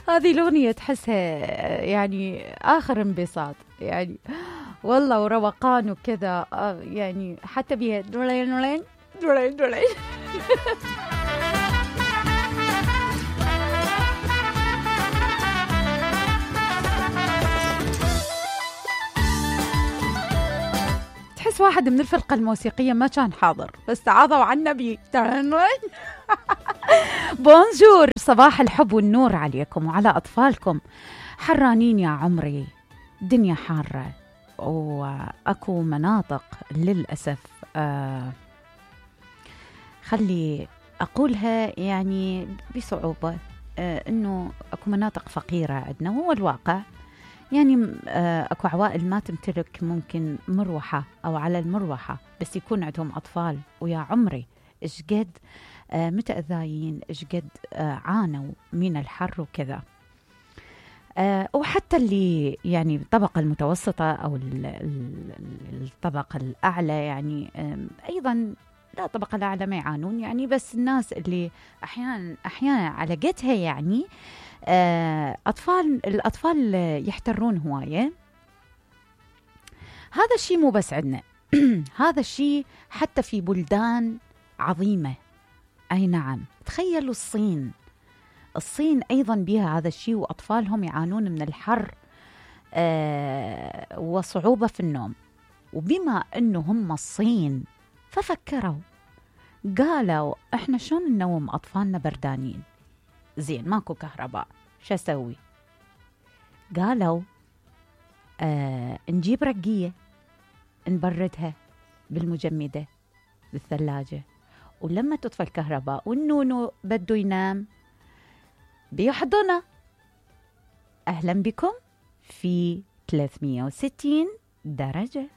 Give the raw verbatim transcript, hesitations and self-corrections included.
هذه الأغنية تحسها يعني آخر انبساط يعني والله، وروقان وكذا يعني، حتى بيها دولين دولين دولين دولين. تحس واحد من الفرقة الموسيقية ما كان حاضر بس تعاضوا عن النبي. بونجور، صباح الحب والنور عليكم وعلى أطفالكم. حرانين يا عمري، دنيا حارة وأكو مناطق للأسف آه خلي أقولها يعني بصعوبة آه إنه أكو مناطق فقيرة عندنا، هو الواقع يعني. آه أكو عوائل ما تمتلك ممكن مروحة أو على المروحة بس يكون عندهم أطفال، ويا عمري إيش قد آه متأذيين، إيش قد آه عانوا من الحر وكذا. آه وحتى اللي يعني الطبقة المتوسطة أو الطبقة الأعلى يعني آه أيضا، لا الطبقة الأعلى ما يعانون يعني، بس الناس اللي أحيانا أحيانا على قدها يعني آه أطفال، الأطفال يحترون هواية. هذا الشيء مو بس عندنا هذا الشيء حتى في بلدان عظيمة. أي نعم، تخيلوا الصين، الصين أيضا بها هذا الشيء، وأطفالهم يعانون من الحر آه وصعوبة في النوم. وبما أنه هم الصين ففكروا قالوا إحنا شلون ننوم أطفالنا بردانين؟ زين ماكو كهرباء، شو أسوي؟ قالوا آه نجيب رقية نبردها بالمجمدة بالثلاجة، ولما تطفى الكهرباء والنونو بده ينام بيحضنه. أهلا بكم في ثلاثمية وستين درجة.